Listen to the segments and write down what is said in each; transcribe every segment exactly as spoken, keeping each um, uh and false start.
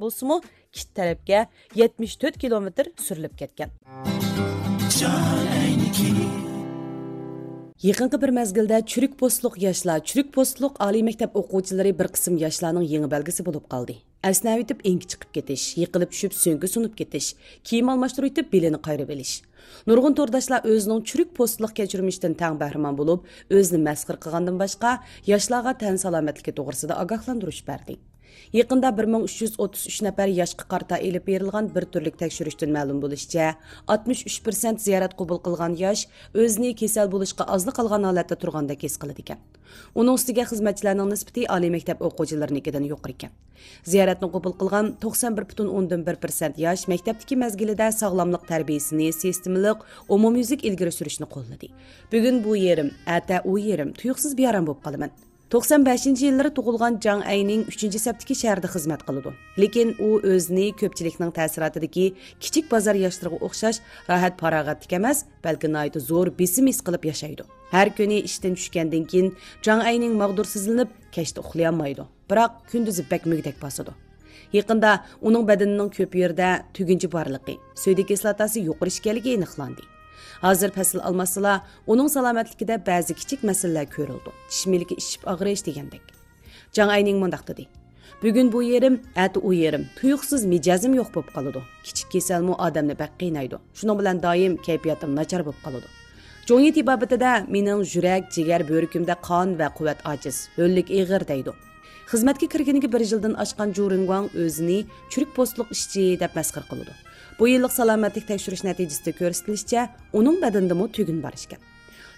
بولسىمۇ، كىت تەرەپكە يەتمىش تۆت كىلومېتىر سۈرۈلۈپ كەتكەن. يېقىنقى بىر مەزگىلدە چۈرۈك پوستلۇق ياشلار، چۈرۈك پوستلۇق ئالىي مەكتەپ ئوقۇغۇچىلىرى بىر قىسىم ياشلارنىڭ يېڭى بەلگىسى بولۇپ قالدى. ئەسنەۋېتىپ ئېڭىكى چىقىپ كېتىش، يىقىلىپ چۈشۈپ سۆڭىكى سۇنۇپ كېتىش، كىيىم ئالماشتۇرۇۋېتىپ بېلىنى قايرىۋېلىش. نۇرغۇن تورداشلار ئۆزىنىڭ چۈرۈك پوستلۇق كەچۈرمىشىدىن تەڭ بەھرىمەن بولۇپ، ئۆزىنى مەسخىرە قىلغاندىن باشقا، ياشلارغا تەن سالامەتلىكى توغرىسىدا ئاگاھلاندۇرۇش بەردى. يېقىندا بىر مىڭ ئۈچ يۈز ئوتتۇز ئۈچ نەپەر ياشقا قارىتا ئېلىپ بېرىلغان بىر تۈرلۈك تەكشۈرۈشتىن مەلۇم بولۇشىچە، ئاتمىش ئۈچ پىرسەنت زىيارەت قوبۇل قىلغان ياش ئۆزىنى كېسەل بولۇشقا ئازلا قالغان ھالەتتە تۇرغاندەك ھېس قىلىدىكەن. ئۇنىڭ ئۈستىگە خىزمەتچىلەرنىڭ نىسبىتى ئالىي مەكتەپ ئوقۇغۇچىلىرىنىڭكىدىن يۇقىرىكەن. زىيارەتنى قوبۇل قىلغان توقسان بىر پۈتۈن ئوندىن بىر پىرسەنت ياش مەكتەپتىكى مەزگىلىدە ساغلاملىق تەربىيىسىنى سىستېمىلىق، ئومۇميۈزلۈك ئىلگىرى سۈرۈشنى قوللىدى. بۈگۈن بۇ يېرىم، ئەتە ئۇ يېرىم، تۇيۇقسىز بىئارام بولۇپ قالىمەن. توقسان بەشىنچى يىللىرى تۇغۇلغان جاڭ ئەينىڭ ئۈچىنچى سەپتىكى شەھەردە خىزمەت قىلىدۇ. لېكىن ئۇ ئۆزىنى كۆپچىلىكنىڭ تەسىراتىدىكى كىچىك بازار ياشلىرىغا ئوخشاش راھەت-پاراغەتلىك ئەمەس، بەلكى ناھايىتى زور بېسىم ھېس قىلىپ ياشايدۇ. ھەر كۈنى ئىشتىن چۈشكەندىن كېيىن، جاڭ ئەينىڭ ماغدۇرسىزلىنىپ، كەچتە ئۇخلىيالمايدۇ. بىراق، كۈندۈزى بەك مۈگدەك باسىدۇ. يېقىندا ئۇنىڭ بەدىنىنىڭ كۆپ يېرىدە تۈگۈنچە بارلىقى، سۆيدە كىسلاتاسى يۇقىرى ئىكەنلىكى ئېنىقلاندى. ھازىر پەسىل ئالماشسىلا، ئۇنىڭ سالامەتلىكىدە بەزى كىچىك مەسىلىلەر كۆرۈلىدۇ. چىش مىلىكى ئىششىپ ئاغرىش دېگەندەك. جاڭ ئەينىڭ مۇنداق دېدى: «بۈگۈن بۇ يېرىم، ئەتە ئۇ يېرىم، تۇيۇقسىز مىجەزىم يوق بولۇپ قالىدۇ. كىچىك كېسەلمۇ ئادەمنى بەك قىينايدۇ. شۇنىڭ بىلەن دائىم كەيپىياتىم ناچار بولۇپ قالىدۇ.» جۇڭيى تېبابىتىدە مېنىڭ يۈرەك، جىگەر، بۆرىكىمدە قان ۋە قۇۋۋەت ئاجىز، ھۆللۈك ئېغىر دەيدۇ. خىزمەتكە كىرگىنىگە بىر يىلدىن ئاشقان جۇ رېڭگۇاڭ ئۆزىنى چۈرۈك پوستلۇق ئىشچى دەپ مەسخىرە قىلىدۇ. بۇ يىللىق سالامەتلىك تەكشۈرۈش نەتىجىسىدە كۆرسىتىلىشىچە، ئۇنىڭ بەدىنىدىمۇ تۈگۈن بار ئىكەن.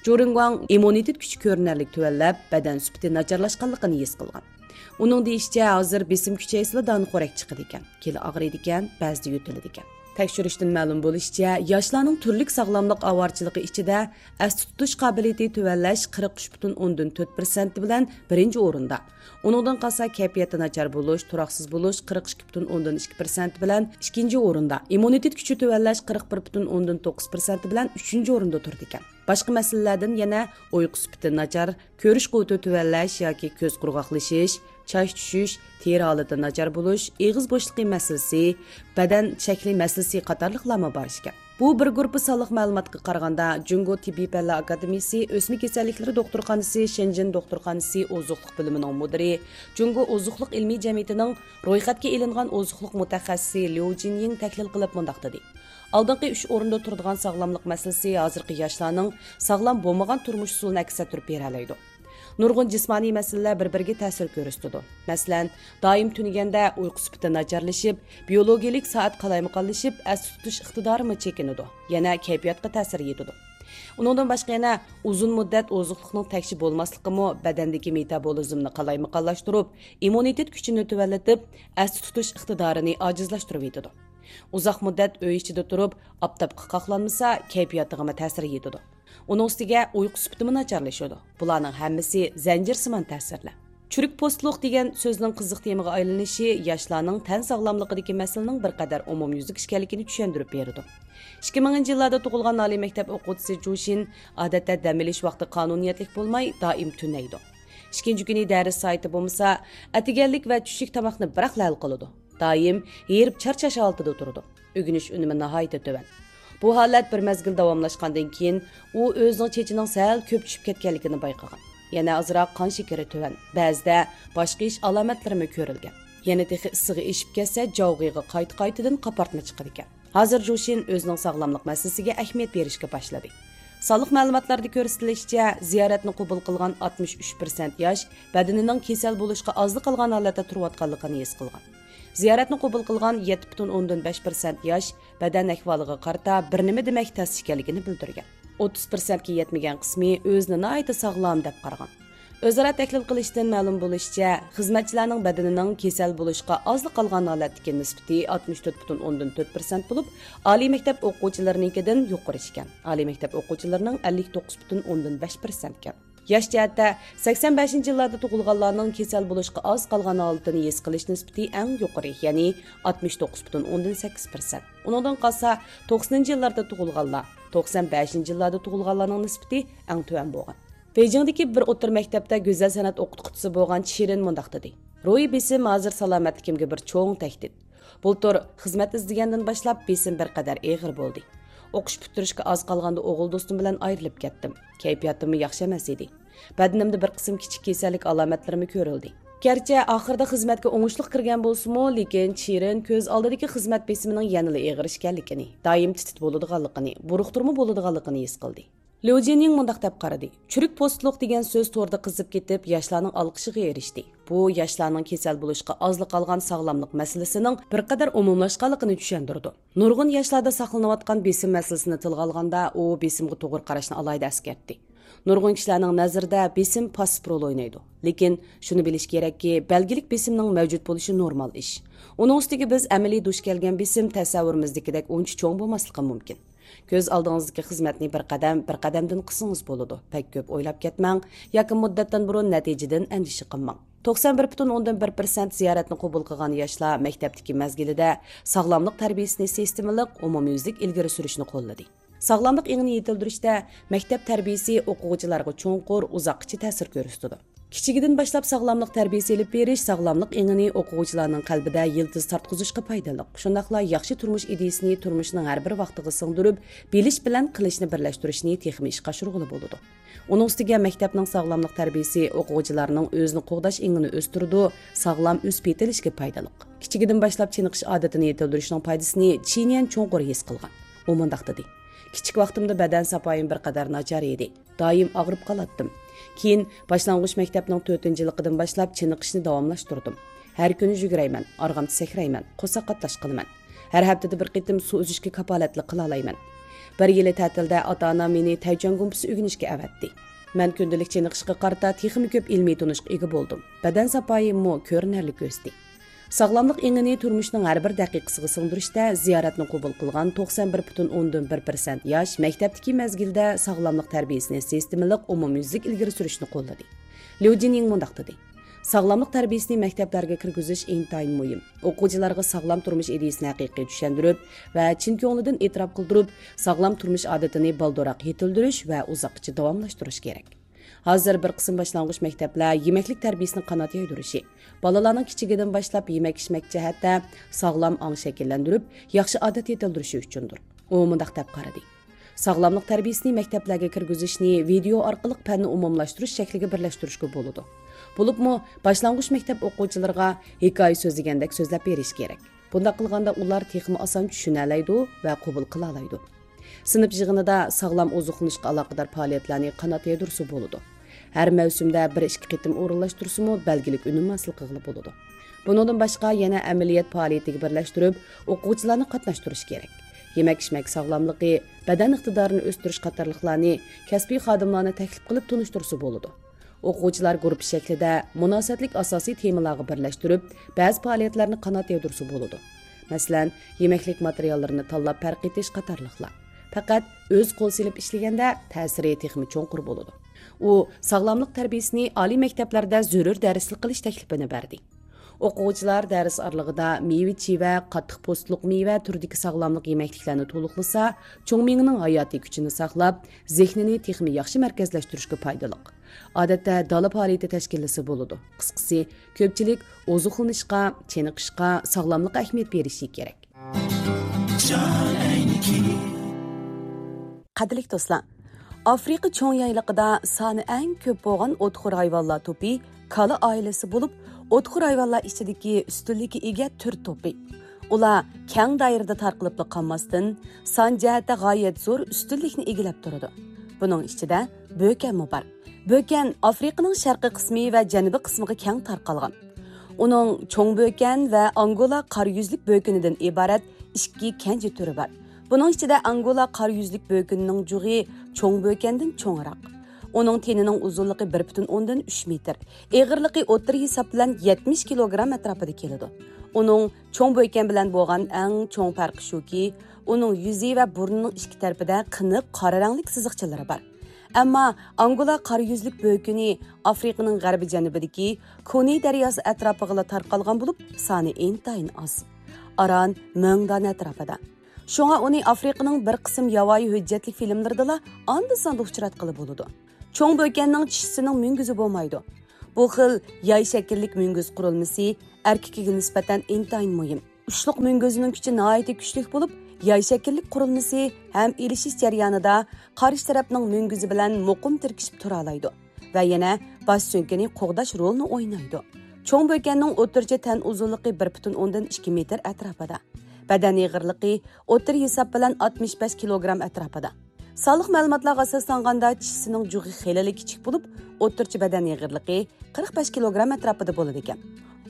جۇ رېڭگۇاڭ ئىممۇنىتېت كۈچى كۆرۈنەرلىك تۆۋەنلەپ، بەدەن سۈپىتى ناچارلاشقانلىقىنى ھېس قىلغان. ئۇنىڭ دېيىشىچە، ھازىر بېسىم كۈچەيسىلا دانىخورەك چىقىدىكەن، كېلى ئاغرىيدىكەن، بەزىدە يۆتىلىدىكەن. تەكشۈرۈشتىن مەلۇم بولۇشىچە، ياشلارنىڭ تۈرلۈك ساغلاملىق ئاۋارىچىلىقى ئىچىدە ئەستە تۇتۇش قابىلىيىتى تۆۋەنلەش قىرىق ئۈچ پۈتۈن ئوندىن تۆت پىرسەنت بىلەن بىرىنچى ئورۇندا. ئۇنىڭدىن قالسا كەيپىياتى ناچار بولۇش، تۇراقسىز بولۇش قىرىق ئىككى پۈتۈن ئوندىن ئىككى پىرسەنت بىلەن ئىككىنچى ئورۇندا، ئىممۇنىتېت كۈچى تۆۋەنلەش قىرىق بىر پۈتۈن ئوندىن توققۇز پىرسەنت بىلەن ئۈچىنچى ئورۇندا تۇرىدىكەن. باشقا مەسىلىلەردىن يەنە ئۇيقۇ سۈپىتى ناچار، كۆرۈش قۇۋۋىتى تۆۋەنلەش ياكى كۆز قۇرغاقلىشىش، چاچ چۈشۈش، تېرە ھالىتى ناچار بولۇش، ئېغىز بوشلۇقى مەسىلىسى، بەدەن شەكلى مەسىلىسى قاتارلىقلارمۇ بار ئىكەن. بۇ بىر گۇرۇپپا سانلىق مەلۇماتقا قارىغاندا، جۇڭگو تېببىي پەنلەر ئاكادېمىيىسى ئۆسمە كېسەللىكلىرى دوختۇرخانىسى، شېنجېن دوختۇرخانىسى ئوزۇقلۇق بۆلۈمىنىڭ مۇدىرى، جۇڭگو ئوزۇقلۇق ئىلمىي جەمئىيىتىنىڭ رويخەتكە ئېلىنغان ئوزۇقلۇق مۇتەخەسسىسى ليۇ جىنيىڭ تەھلىل قىلىپ مۇنداق دېدى: «ئالدىنقى ئۈچ ئورۇندا تۇرىدىغان ساغلاملىق مەسىلىسى ھازىرقى ياشلارنىڭ ساغلام بولمىغان تۇرمۇش ئۇسۇلىنى ئەكس ئەتتۈرۈپ بېرەلەيدۇ.» نۇرغۇن جىسمانىي مەسىلىلەر بىر-بىرىگە تەسىر كۆرسىتىدۇ. مەسىلەن، دائىم تۈنىگەندە ئۇيقۇ سۈپىتى ناچارلىشىپ، بىيولوگىيەلىك سائەت قالايمىقانلىشىپ، ئەستە تۇتۇش ئىقتىدارىمۇ چېكىنىدۇ، يەنە كەيپىياتقا تەسىر يېتىدۇ. ئۇنىڭدىن باشقا يەنە ئۇزۇن مۇددەت ئوزۇقلۇقنىڭ تەكشى بولماسلىقىمۇ بەدەندىكى مېتابولىزمنى قالايمىقانلاشتۇرۇپ، ئىممۇنىتېت كۈچىنى تۆۋەنلىتىپ، ئەستە تۇتۇش ئىقتىدارىنى ئاجىزلاشتۇرۇۋېتىدۇ. ئۇزاق مۇددەت ئۆي ئىچىدە تۇرۇپ، ئاپتاپقا قاقلانمىسا، كەيپىياتىغىمۇ تەسىر يېتىدۇ. ئۇنىڭ ئۈستىگە ئۇيقۇ سۈپىتىمۇ ناچارلىشىدۇ. بۇلارنىڭ ھەممىسى زەنجىرسىمان تەسىرلەر. چۈرۈك پوستلۇق دېگەن سۆزنىڭ قىزىق تېمىغا ئايلىنىشى ياشلارنىڭ تەن ساغلاملىقىدىكى مەسىلىنىڭ بىر قەدەر ئومۇميۈزلۈك ئىكەنلىكىنى چۈشەندۈرۈپ بېرىدۇ. ئىككى مىڭىنچى يىللاردا تۇغۇلغان ئالىي مەكتەپ ئوقۇغۇچىسى جۇشىن ئادەتتە دەم ئېلىش ۋاقتى قانۇنىيەتلىك بولماي، دائىم تۈنەيدۇ. ئىككىنچى كۈنى دەرس سائىتى بولمىسا، ئەتىگەنلىك ۋە چۈشلۈك تاماقنى بىراقلا ھەل قىلىدۇ. دائىم ھېرىپ چارچاش ھالىتىدە تۇرىدۇ. ئۆگىنىش ئۈنۈمى ناھايىتى تۆۋەن. بۇ ھالەت بىر مەزگىل داۋاملاشقاندىن كېيىن، ئۇ ئۆزىنىڭ چېچىنىڭ سەل كۆپ چۈشۈپ كەتكەنلىكىنى بايقىغان. يەنە ئازراق قان شېكىرى تۆۋەن، بەزىدە باش قېيىش ئالامەتلىرىمۇ كۆرۈلگەن. يەنە تېخى ئىسسىقى ئېشىپ كەتسە، جاۋغىغا قايتا-قايتىدىن قاپارتما چىقىدىكەن. ھازىر جۇشىن ئۆزىنىڭ ساغلاملىق مەسىلىسىگە ئەھمىيەت بېرىشكە باشلىدى. سانلىق مەلۇماتلاردا كۆرسىتىلىشىچە، زىيارەتنى قوبۇل قىلغان ئاتمىش ئۈچ پىرسەنت ياش بەدىنىنىڭ كېسەل بولۇشقا ئازلا قالغان ھالەتتە تۇرۇۋاتقانلىقىنى ھېس قىلغان. زىيارەتنى قوبۇل قىلغان يەتتە پۈتۈن ئوندىن بەش پىرسەنت ياش بەدەن ئەھۋالىغا قارىتا بىر نېمە دېمەك تەس ئىكەنلىكىنى بىلدۈرگەن. ئوتتۇز پىرسەنتكە يەتمىگەن قىسمى ئۆزىنى ناھايىتى ساغلام دەپ قارىغان. ئۆزئارا تەھلىل قىلىشتىن مەلۇم بولۇشىچە، خىزمەتچىلەرنىڭ بەدىنىنىڭ كېسەل بولۇشقا ئازلا قالغان ھالەتتىكى نىسبىتى ئاتمىش تۆت پۈتۈن ئوندىن تۆت پىرسەنت بولۇپ، ئالىي مەكتەپ ئوقۇغۇچىلىرىنىڭكىدىن يۇقىرى ئىكەن. ئالىي مەكتەپ ئوقۇغۇچىلىرىنىڭ ئەللىك توققۇز پۈتۈن ئوندىن بەش پىرسەنت ئىكەن. ياش جەھەتتە سەكسەن بەشىنچى يىللاردا تۇغۇلغانلارنىڭ كېسەل بولۇشقا ئاز قالغان ھالىتىنى ھېس قىلىش نىسبىتى ئەڭ يۇقىرى، يەنى ئاتمىش توققۇز پۈتۈن ئوندىن سەككىز پىرسەنت. ئۇنىڭدىن قالسا، توقسىنىنچى يىللاردا تۇغۇلغانلار، توقسان بەشىنچى يىللاردا تۇغۇلغانلارنىڭ نىسبىتى ئەڭ تۆۋەن بولغان. بېيجىڭدىكى بىر ئوتتۇرا مەكتەپتە گۈزەل سەنئەت ئوقۇتقۇچىسى بولغان چىرىن مۇنداق دېدى: «روھىي بېسىم ھازىر سالامەتلىكىمگە بىر چوڭ تەھدىت. بۇلتۇر خىزمەت ئىزدىگەندىن باشلاپ بېسىم بىر قەدەر ئېغىر بولدى. ئوقۇش پۈتتۈرۈشكە ئاز قالغاندا ئوغۇل دوستۇم بىلەن ئايرىلىپ كەتتىم. كەيپىياتىممۇ ياخشى ئەمەس ئىدى. بەدىنىمدە بىر قىسىم كىچىك كېسەللىك ئالامەتلىرىمۇ كۆرۈلدى. گەرچە ئاخىرىدا خىزمەتكە ئوڭۇشلۇق كىرگەن بولسىمۇ، لېكىن چىرىن كۆز ئالدىدىكى خىزمەت بېسىمىنىڭ يەنىلا ئېغىر ئىكەنلىكىنى، دائىم تىتىت بولىدىغانلىقىنى، بۇرۇقتۇرما بولىدىغانلىقىنى ھېس قىلدى. ليۇ جىنيىڭ مۇنداق دەپ قارىدى، چۈرۈك پوستلۇق دېگەن سۆز توردا قىزىپ كېتىپ، ياشلارنىڭ ئالقىشىغا ئېرىشتى. بۇ ياشلارنىڭ كېسەل بولۇشقا ئازلا قالغان ساغلاملىق مەسىلىسىنىڭ بىر قەدەر ئومۇملاشقانلىقىنى چۈشەندۈرىدۇ. نۇرغۇن ياشلاردا ساقلىنىۋاتقان بېسىم مەسىلىسىنى تىلغا ئالغاندا، ئۇ بېسىمغا توغرا قاراشنى ئالاھىدە ئەسكەرتتى. نۇرغۇن كىشىلەرنىڭ نەزىرىدە بېسىم پاسسىپ رول ئوينايدۇ. لېكىن شۇنى بىلىش كېرەككى، بەلگىلىك بېسىمنىڭ مەۋجۇت بولۇشى نورمال ئىش. ئۇنىڭ ئۈستىگە بىز ئەمەلىي دۇچ كەلگەن بېسىم تەسەۋۋۇرىمىزدىكىدەك ئۇنچە چوڭ بولماسلىقى مۇمكىن. كۆز ئالدىڭىزدىكى خىزمەتنى بىر قەدەم، بىر قەدەمدىن قىلسىڭىز بولىدۇ. بەك كۆپ ئويلاپ كەتمەڭ ياكى مۇددەتتىن بۇرۇن نەتىجىدىن ئەندىشە قىلماڭ. توقسان بىر پۈتۈن ئوندىن بىر پىرسەنت زىيارەتنى قوبۇل قىلغان ياشلار مەكتەپتىكى مەزگىلىدە ساغلاملىق تەربىيىسىنى سىستېمىلىق، ئومۇميۈزلۈك ئىلگىرى سۈرۈشنى قوللىدى. ساغلاملىق ئېڭىنى يېتىلدۈرۈشتە مەكتەپ تەربىيىسى ئوقۇغۇچىلارغا چوڭقۇر، ئۇزاققىچە تەسىر كۆرسىتىدۇ. كىچىكىدىن باشلاپ ساغلاملىق تەربىيىسى ئېلىپ بېرىش ساغلاملىق ئېڭىنى ئوقۇغۇچىلارنىڭ قەلبىدە يىلتىز تارتقۇزۇشقا پايدىلىق، شۇنداقلا ياخشى تۇرمۇش ئىدىيىسىنى تۇرمۇشنىڭ ھەر بىر ۋاقتىغا سىڭدۈرۈپ، بىلىش بىلەن قىلىشنى بىرلەشتۈرۈشنى تېخىمۇ ئىشقا ئاشۇرغىلى بولىدۇ. ئۇنىڭ ئۈستىگە مەكتەپنىڭ ساغلاملىق تەربىيىسى ئوقۇغۇچىلارنىڭ ئۆزىنى قوغداش ئېڭىنى ئۆستۈرىدۇ، ساغلام ئۆسۈپ يېتىلىشىگە پايدىلىق. كىچىكىدىن باشلاپ چېنىقىش ئادىتىنى يېتىلدۈرۈشنىڭ پايدىسىنى چىنيەن چوڭقۇر ھېس قىلغان. ئۇ مۇنداق دېدى، كىچىك ۋاقتىمدا بەدەن ساپايىم بىر قەدەر ناچار ئىدى. دائىم ئاغرىپ قالاتتىم. كېيىن باشلانغۇچ مەكتەپنىڭ تۆتىنچى يىللىقىدىن باشلاپ چېنىقىشنى داۋاملاشتۇردۇم. ھەر كۈنى يۈگۈرەيمەن، ئارغامچا سەكرەيمەن، قورساق قاتلاش قىلىمەن. ھەر ھەپتىدە بىر قېتىم سۇ ئۈزۈشكە كاپالەتلىك قىلالايمەن. بىر يىلى تەتىلدە ئاتا-ئانام مېنى تەيچۈەن گۇمپىسى ئۆگىنىشكە ئەۋەتتى. مەن كۈندىلىك چېنىقىشقا قارىتا تېخىمۇ كۆپ ئىلمىي تونۇشقا ئىگە بولدۇم. بەدەن ساپايىممۇ كۆرۈنەرلىك ئۆستى. ساغلاملىق ئېڭىنى تۇرمۇشنىڭ ھەر بىر دەقىقىسىغا سىڭدۈرۈشتە زىيارەتنى قوبۇل قىلغان توقسان بىر پۈتۈن ئوندىن بىر پىرسەنت ياش مەكتەپتىكى مەزگىلدە ساغلاملىق تەربىيىسىنى سىستېمىلىق، ئومۇميۈزلۈك ئىلگىرى سۈرۈشنى قوللىدى. ليۇ جىنيىڭ مۇنداق دېدى، ساغلاملىق تەربىيىسىنى مەكتەپلەرگە كىرگۈزۈش ئىنتايىن مۇھىم. ئوقۇغۇچىلارغا ساغلام تۇرمۇش ئىدىيىسىنى ھەقىقىي چۈشەندۈرۈپ ۋە چىن كۆڭلىدىن ئېتىراپ قىلدۇرۇپ، ساغلام تۇرمۇش ئادىتىنى بالدۇرراق يېتىلدۈرۈش ۋە ئۇزاققىچە داۋاملاشتۇرۇش كېرەك. ھازىر بىر قىسىم باشلانغۇچ مەكتەپلەر يېمەكلىك تەربىيىسىنى قانات يايدۇرۇشى، بالىلارنىڭ كىچىكىدىن باشلاپ يېمەك-ئىچمەك جەھەتتە ساغلام ئاڭ شەكىللەندۈرۈپ، ياخشى ئادەت يېتىلدۈرۈشى ئۈچۈندۇر. ئۇ مۇنداق دەپ قارىدى، ساغلاملىق تەربىيىسىنى مەكتەپلەرگە كىرگۈزۈشنى ۋىدېئو ئارقىلىق پەننى ئومۇملاشتۇرۇش شەكلىگە بىرلەشتۈرۈشكە بولىدۇ. بولۇپمۇ باشلانغۇچ مەكتەپ ئوقۇغۇچىلىرىغا ھېكايە سۆزلىگەندەك سۆزلەپ بېرىش كېرەك. بۇنداق قىلغاندا ئۇلار تېخىمۇ ئاسان چۈشىنەلەيدۇ ۋە قوبۇل قىلالايدۇ. سىنىپ يىغىنىدا ساغلام ئوزۇقلىنىشقا ئالاقىدار پائالىيەتلەرنى قانات يايدۇرسا بولىدۇ. ھەر مەۋسۇمدە بىر ئىككى قېتىم ئورۇنلاشتۇرسىمۇ بەلگىلىك ئۈنۈم ھاسىل قىلغىلى بولىدۇ. بۇنىڭدىن باشقا يەنە ئەمەلىيەت پائالىيىتىگە بىرلەشتۈرۈپ، ئوقۇغۇچىلارنى قاتناشتۇرۇش كېرەك. يېمەك-ئىچمەك ساغلاملىقى، بەدەن ئىقتىدارىنى ئۆستۈرۈش قاتارلىقلارنى كەسپىي خادىملارنى تەكلىپ قىلىپ تونۇشتۇرسا بولىدۇ. ئوقۇغۇچىلار گۇرۇپپا شەكلىدە مۇناسىۋەتلىك ئاساسىي تېمىلارغا بىرلەشتۈرۈپ، بەزى پائالىيەتلەرنى قانات يايدۇرسا بولىدۇ. مەسىلەن، يېمەكلىك ماتېرىياللىرىنى تاللاپ پەرق ئېتىش قاتارلىقلار. پەقەت ئۆز قول سېلىپ ئىشلىگەندە، تەسىرى تېخىمۇ چوڭقۇر بولىدۇ. ئۇ ساغلاملىق تەربىيىسىنى ئالىي مەكتەپلەردە زۆرۈر دەرسلىك قىلىش تەكلىپىنى بەردى. ئوقۇغۇچىلار دەرس ئارىلىقىدا مېۋە-چىۋە، قاتتىق پوستلۇق مېۋە تۈرىدىكى ساغلاملىق يېمەكلىكلەرنى تولۇقلىسا، چوڭ مېڭىنىڭ ھاياتىي كۈچىنى ساقلاپ، زېھنىنى تېخىمۇ ياخشى مەركەزلەشتۈرۈشكە پايدىلىق. ئادەتتە دالا پائالىيىتى تەشكىللىسە بولىدۇ. قىسقىسى، كۆپچىلىك ئوزۇقلىنىشقا، چېنىقىشقا، ساغلاملىققا ئەھمىيەت بېرىشى كېرەك. قەدىرلىك دوستلار، ئافرىقا چوڭ يايلىقىدا سانى ئەڭ كۆپ بولغان ئوتخور ھايۋانلار توپى كالا ئائىلىسى بولۇپ، ئوتخور ھايۋانلار ئىچىدىكى ئۈستۈنلۈككە ئىگە تۈر توپى. ئۇلار كەڭ دائىرىدە تارقىلىپلا قالماستىن، سان جەھەتتە غايەت زور ئۈستۈنلۈكنى ئىگىلەپ تۇرىدۇ. بۇنىڭ ئىچىدە بۆكەنمۇ بار. بۆكەن ئافرىقىنىڭ شەرقىي قىسمى ۋە جەنۇبىي قىسمىغا كەڭ تارقالغان. ئۇنىڭ چوڭ بۆكەن ۋە ئانگولا قارا يۈزلۈك بۆكىنىدىن ئىبارەت ئىككى كەنجى تۈرى بار. بۇنىڭ ئىچىدە ئانگولا قارا يۈزلۈك بۆكىنىنىڭ جۇغى چوڭ بۆكەندىن چوڭراق. ئۇنىڭ تېنىنىڭ ئۇزۇنلۇقى بىر پۈتۈن ئوندىن ئۈچ مېتىر، ئېغىرلىقى ئوتتۇرا ھېساب بىلەن يەتمىش كىلوگرام ئەتراپىدا كېلىدۇ. ئۇنىڭ چوڭ بۆكەن بىلەن بولغان ئەڭ چوڭ پەرقى شۇكى، ئۇنىڭ يۈزى ۋە بۇرنىنىڭ ئىككى تەرىپىدە قېنىق قارا رەڭلىك سىزىقچىلىرى بار. ئەمما ئانگولا قارا يۈزلۈك بۆكىنى ئافرىقىنىڭ غەربىي جەنۇبىدىكى كونى دەرياسى ئەتراپىغىلا تارقالغان بولۇپ، سانى ئىنتايىن ئاز. ئاران مىڭ دانە ئەتراپىدا. شۇڭا ئۇنى ئافرىقىنىڭ بىر قىسىم ياۋايى ھۆججەتلىك فىلىملىرىدىلا ئاندا-ساندا ئۇچراتقىلى بولىدۇ. چوڭ بۆكەننىڭ چىشىسىنىڭ مۈڭگۈزى بولمايدۇ. بۇ خىل ياي شەكىللىك مۈڭگۈز قۇرۇلمىسى ئەركىكىگە نىسبەتەن ئىنتايىن مۇھىم. ئۇچلۇق مۈڭگۈزىنىڭ كۈچى ناھايىتى كۈچلۈك بولۇپ، ياي شەكىللىك قۇرۇلمىسى ھەم ئېلىشىش جەريانىدا قارشى تەرەپنىڭ مۈڭگۈزى بىلەن مۇقىم تىركىشىپ تۇرالايدۇ ۋە يەنە باش سۆڭىكىنى قوغداش رولىنى ئوينايدۇ. چوڭ بۆكەننىڭ ئوتتۇرىچە تەن ئۇزۇنلۇقى بىر پۈتۈن ئوندىن ئىككى مېتىر ئەتراپىدا. بەدەن ئېغىرلىقى ئوتتۇرا ھېساب بىلەن ئاتمىش بەش كىلوگرام ئەتراپىدا. سانلىق مەلۇماتلارغا ئاساسلانغاندا، چىشىسىنىڭ جۇغى خېلىلا كىچىك بولۇپ، ئوتتۇرىچە بەدەن ئېغىرلىقى قىرىق بەش كىلوگرام ئەتراپىدا بولىدىكەن.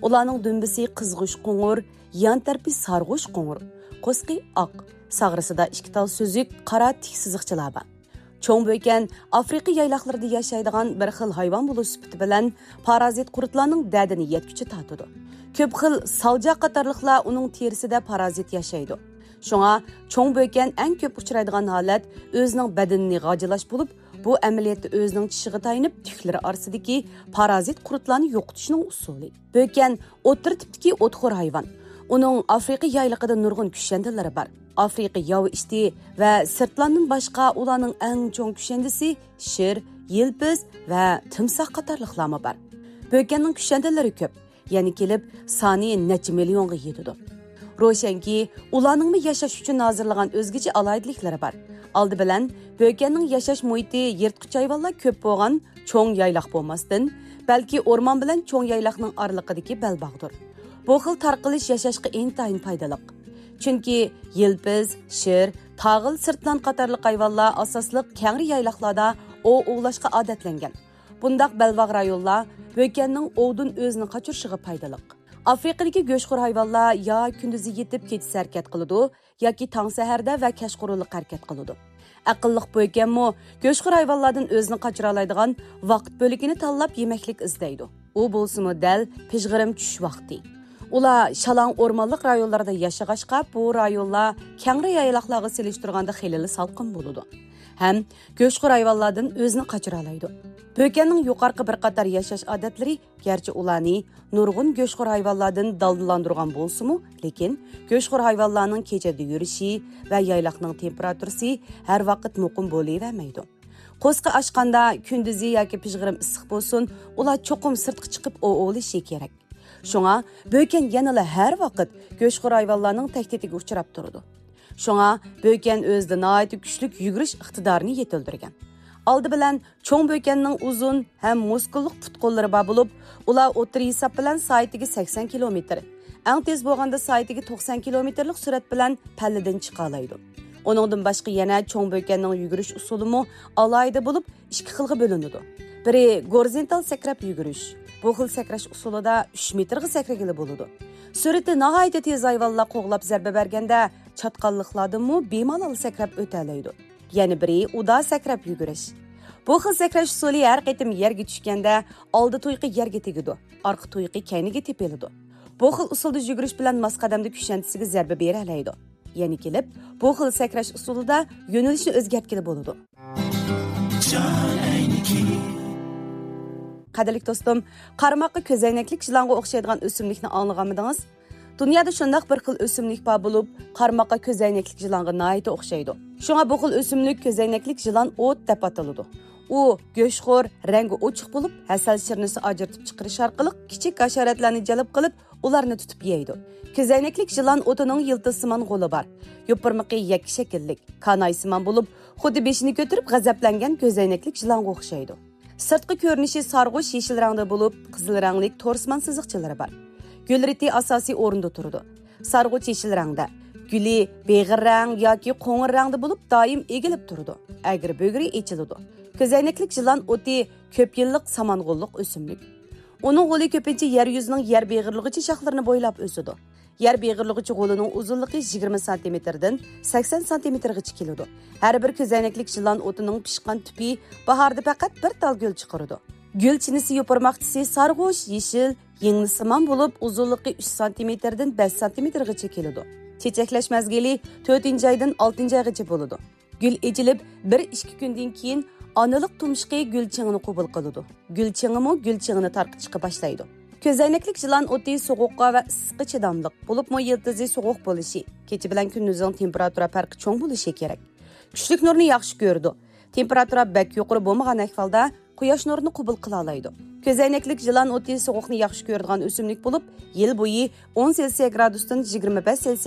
ئۇلارنىڭ دۈمبىسى قىزغۇچ قوڭۇر، يان تەرىپى سارغۇچ قوڭۇر، قورسىقى ئاق، ساغرىسىدا ئىككى تال سۈزۈك قارا تىك سىزىقچىلار بار. چوڭ بۆكەن ئافرىقا يايلاقلىرىدا ياشايدىغان بىر خىل ھايۋان بولۇش سۈپىتى بىلەن پارازىت قۇرتلارنىڭ دەردىنى يەتكۈچە تارتىدۇ. كۆپ خىل سالجا قاتارلىقلار ئۇنىڭ تېرىسىدە پارازىت ياشايدۇ. شۇڭا چوڭ بۆكەن ئەڭ كۆپ ئۇچرايدىغان ھالەت ئۆزىنىڭ بەدىنىنى غاجىلاش بولۇپ، بۇ ئەمەلىيەتتە ئۆزىنىڭ چىشىغا تايىنىپ تۈكلىرى ئارىسىدىكى پارازىت قۇرتلارنى يوقىتىشنىڭ ئۇسۇلى. بۆكەن ئوتتۇرا تىپتىكى ئوتخور ھايۋان. ئۇنىڭ ئافرىقا يايلىقىدا نۇرغۇن كۈشەندىلىرى بار. ئافرىقا ياۋا ئىتى ۋە سىرتلاندىن باشقا ئۇلارنىڭ ئەڭ چوڭ كۈشەندىسى شىر، يىلپىز ۋە تىمساھ قاتارلىقلارمۇ بار. بۆكەننىڭ كۈشەندىلىرى كۆپ، يەنە كېلىپ سانى نەچچە مىليونغا يېتىدۇ. روشەنكى، ئۇلارنىڭمۇ ياشاش ئۈچۈن ھازىرلىغان ئۆزگىچە ئالاھىدىلىكلىرى بار. ئالدى بىلەن، بۆكەننىڭ ياشاش مۇھىتى يىرتقۇچ ھايۋانلار كۆپ بولغان چوڭ يايلاق بولماستىن، بەلكى ئورمان بىلەن چوڭ يايلاقنىڭ ئارىلىقىدىكى بەلباغدۇر. بۇ خىل تارقىلىش ياشاشقا ئىنتايىن پايدىلىق. چۈنكى يىلپىز، شىر، تاغىل، سىرتلان قاتارلىق ھايۋانلار ئاساسلىق كەڭرى يايلاقلاردا ئوۋ ئوۋلاشقا ئادەتلەنگەن. بۇنداق بەلباغ رايونلار بۆكەننىڭ ئوۋدىن ئۆزىنى قاچۇرۇشىغا پايدىلىق. ئافرىقىدىكى گۆشخور ھايۋانلار يا كۈندۈزى يېتىپ كېچىسى ھەرىكەت قىلىدۇ، ياكى تاڭ سەھەردە ۋە كەچقۇرۇنلۇق ھەرىكەت قىلىدۇ. ئەقىللىق بۆكەنمۇ گۆشخور ھايۋانلاردىن ئۆزىنى قاچۇرالايدىغان ۋاقىت بۆلىكىنى تاللاپ يېمەكلىك ئىزدەيدۇ. ئۇ بولسىمۇ دەل پىژغىرىم چۈش ۋاقتى. ئۇلار شالاڭ ئورمانلىق رايونلاردا ياشىغاچقا، بۇ رايونلار كەڭرى يايلاقلارغا سېلىشتۇرغاندا خېلىلا سالقىن بولىدۇ ھەم گۆشخور ھايۋانلاردىن ئۆزىنى قاچۇرالايدۇ. بۆكەننىڭ يۇقىرىقى بىر قاتار ياشاش ئادەتلىرى گەرچە ئۇلارنى نۇرغۇن گۆشخور ھايۋانلاردىن دالدىلاندۇرغان بولسىمۇ، لېكىن گۆشخور ھايۋانلارنىڭ كېچىدە يۈرۈشى ۋە يايلاقنىڭ تېمپېراتۇرىسى ھەر ۋاقىت مۇقىم بولۇۋەرمەيدۇ. قورسىقى ئاچقاندا، كۈندۈزى ياكى پىژغىرىم ئىسسىق بولسۇن، ئۇلار چوقۇم سىرتقا چىقىپ ئوۋ ئوۋلىشى كېرەك. شۇڭا بۆكەن يەنىلا ھەر ۋاقىت گۆشخور ھايۋانلارنىڭ تەھدىتىگە ئۇچراپ تۇرىدۇ. شۇڭا بۆكەن ئۆزىدە ناھايىتى كۈچلۈك يۈگۈرۈش ئىقتىدارىنى يېتىلدۈرگەن. ئالدى بىلەن چوڭ بۆكەننىڭ ئۇزۇن ھەم مۇسكۇللۇق پۇت-قوللىرى بار بولۇپ، ئۇلار ئوتتۇرا ھېساب بىلەن سائىتىگە سەكسەن كىلومېتىر، ئەڭ تېز بولغاندا سائىتىگە توقسان كىلومېتىرلىق سۈرئەت بىلەن پەللىدىن چىقالايدۇ. ئۇنىڭدىن باشقا يەنە چوڭ بۆكەننىڭ يۈگۈرۈش ئۇسۇلىمۇ ئالاھىدە بولۇپ، ئىككى خىلغا بۆلۈنىدۇ. بىرى گورزونتال سەكرەپ يۈگۈرۈش. بۇ خىل سەكرەش ئۇسۇلىدا ئۈچ مېتىرغا سەكرىگىلى بولىدۇ. سۈرئىتى ناھايىتى تېز ھايۋانلار قوغلاپ زەربە بەرگەندە، چاتقاللىقلاردىنمۇ بىمالال سەكرەپ ئۆتەلەيدۇ. يەنە بىرى ئۇدا سەكرەپ يۈگۈرۈش. بۇ خىل سەكرەش ئۇسۇلى ھەر قېتىم يەرگە چۈشكەندە، ئالدى تۇيىقى يەرگە تېگىدۇ، ئارقا تۇيىقى كەينىگە تېپىلىدۇ. بۇ خىل ئۇسۇلدا يۈگۈرۈش بىلەن ماس قەدەمدە كۈشەندىسىگە زەربە بېرەلەيدۇ. يەنە كېلىپ، بۇ خىل سەكرەش ئۇسۇلىدا يۆنىلىشنى ئۆزگەرتكىلى بولىدۇ. قەدىرلىك دوستۇم، قارىماققا كۆزەينەكلىك يىلانغا ئوخشايدىغان ئۆسۈملۈكنى ئاڭلىغانمىدىڭىز؟ دۇنيادا شۇنداق بىر خىل ئۆسۈملۈك بار بولۇپ، قارىماققا كۆزەينەكلىك يىلانغا ناھايىتى ئوخشايدۇ. شۇڭا بۇ خىل ئۆسۈملۈك كۆزەينەكلىك يىلان ئوت دەپ ئاتىلىدۇ. ئۇ گۆشخور، رەڭگى ئوچۇق بولۇپ، ھەسەل شىرنىسى ئاجرىتىپ چىقىرىش ئارقىلىق كىچىك ھاشاراتلارنى جەلپ قىلىپ، ئۇلارنى تۇتۇپ يەيدۇ. كۆزەينەكلىك يىلان ئوتىنىڭ يىلتىزسىمان غولى بار. يوپۇرمىقى يەككە شەكىللىك، كانايسىمان بولۇپ، خۇددى بېشىنى كۆتۈرۈپ غەزەپلەنگەن كۆزەينەكلىك يىلانغا ئوخشايدۇ. سىرتقى كۆرۈنۈشى سارغۇچ يېشىل رەڭدە بولۇپ، قىزىل رەڭلىك تورسىمان سىزىقچىلىرى بار. گۈل رېتى ئاساسىي ئورۇندا تۇرىدۇ. سارغۇچ يېشىل رەڭدە. گۈلى بېغىر رەڭ ياكى قوڭۇر رەڭدە بولۇپ، دائىم ئېگىلىپ تۇرىدۇ. ئەگرى-بۈگرى ئېچىلىدۇ. كۆزەينەكلىك يىلان ئوتى كۆپ يىللىق سامان غوللۇق ئۆسۈملۈك. ئۇنىڭ غولى كۆپىنچە يەر يۈزىنىڭ يەر بېغىرلىغۇچە شاخلىرىنى بويلاپ ئۆسىدۇ. يەر بېغىرلىغۇچە غولىنىڭ ئۇزۇنلۇقى يىگىرمە سانتىمېتىردىن سەكسەن سانتىمېتىرغىچە كېلىدۇ. ھەر بىر كۆزەينەكلىك يىلان ئوتىنىڭ پىشقان تۈپى باھاردا پەقەت بىر تال گۈل چىقىرىدۇ. گۈل چىنىسى يوپۇرماقچىسى سارغۇچ يېشىل، يىڭنىسىمان بولۇپ، ئۇزۇنلۇقى ئۈچ سانتىمېتىردىن بەش سانتىمېتىرغىچە كېلىدۇ. چېچەكلەش مەزگىلى تۆتىنچى ئايدىن ئالتىنچى ئايغىچە بولىدۇ. گۈل ئېچىلىپ، بىر ئىككى كۈندىن كېيىن ئانىلىق تۇمشۇقى گۈل چېڭىنى قوبۇل قىلىدۇ. گۈل چېڭىمۇ گۈل چېڭىنى تارقىتىشقا باشلايدۇ. كۆزەينەكلىك يىلان ئوتى سوغۇققا ۋە ئىسسىققا چىداملىق، بولۇپمۇ يىلتىزى سوغۇق بولۇشى، كېچە بىلەن كۈندۈزنىڭ تېمپېراتۇرا پەرقى چوڭ بولۇشى كېرەك. كۈچلۈك نۇرنى ياخشى كۆرىدۇ. تېمپېراتۇرا بەك يۇقىرى بولمىغان ئەھۋالدا قۇياش نۇرىنى قوبۇل قىلالايدۇ. كۆزەينەكلىك يىلان ئوتى سوغۇقنى ياخشى كۆرىدىغان ئۆسۈملۈك بولۇپ، يىل بويى ئون سېلسىيە گرادۇستىن يىگىرمە بەش سېلسىيە